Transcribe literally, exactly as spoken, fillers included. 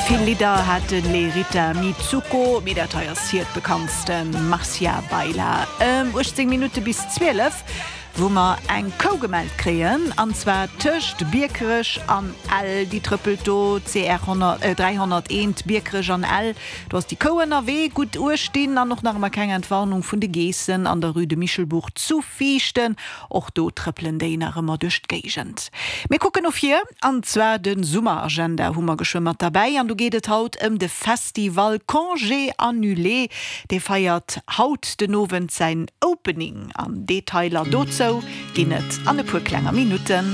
Vill Lidder hat de Lerita Mitsuko, mee dat hei ass hiert bekanntsten, Marcia Baila. Ëm uechtzéng Minutte bis zwielef, wou mer eng Kou gemellt kréien, an zwar tëscht Biekerech an Ell. Déi trëppelt do, C R dräihonnerteent, Biekerech an Ell. Do ass déi Kou ënnerwee. Gutt uecht dinn an och nach ëmmer keng Entwarnung vun de Geessen an der Rue de Michelbourg zu Viichten. Och do trëppelen déi nach ëmmer duerch d'Géigend. Mir kucken no vir, an zwar de Summeragenda hu mer geschwë mat derbäi. An do geet et haut ëm de Festival Congé Annulé. Dee feiert haut den Owend säin Opening an Detailer dozou ginn et an e puer klenger Minutten.